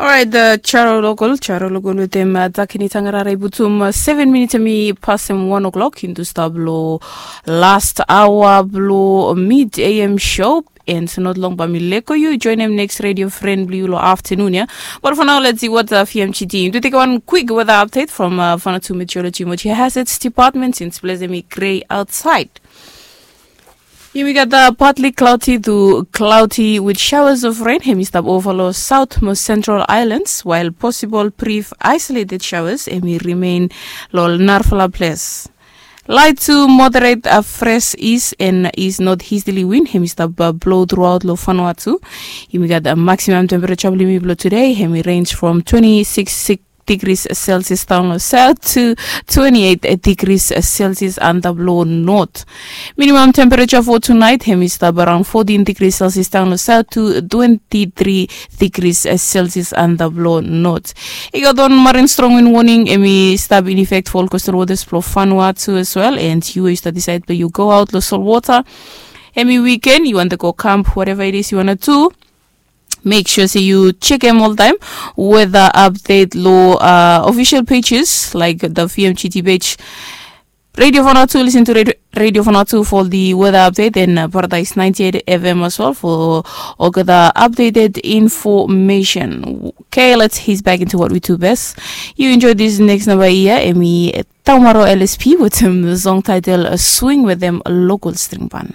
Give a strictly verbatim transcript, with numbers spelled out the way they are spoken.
Orait, Charo Lokol, Charo Lokol wetem Dakini Tangarara i putum seven minits em i pasem wan o'clock into stap lo last hour blo mid A M show. And not long bae mi leko yu joinem next radio friend blo yu lo afternoon ya. But for now, let's see what uh, F M G T. Im tu teke wan quick weather update from uh, Vanuatu Meteorology Mochi Hazards Department since ples em i grey outside. Yumi gat uh, partly cloudy to cloudy with showers of rain. Hemi stap over lo south mo central islands, while possible brief isolated showers hemi remain lo narfala place. Light to moderate uh, fresh east and east northeasterly wind hemi stap uh, blow throughout lo Vanuatu. Yumi gat uh, maximum temperature blo yumi blo today hemi range from twenty-six degrees Celsius down lo south to twenty-eight degrees Celsius under blow north. Minimum temperature for tonight hemi stap around fourteen degrees Celsius down lo south to twenty-three degrees Celsius under blow north. I gat wan marine strong wind warning hemi stap in effect for all coastal waters blo Vanuatu as well, and yu we yu stap decide bae yu go out lo salt water hemi weekend, yu want to go camp, whatever it is you want to do. Make sure say you check them all time. Weather update lo uh, official pages like the V M G T page. Radio Vanuatu, listen to Radio, Radio Vanuatu for the weather update and uh, Paradise ninety-eight F M as well for all the updated information. Okay, let's ease back into what we do best. You enjoy this next number here, Emi Taumaro L S P with him song title uh, Swing with them local string band.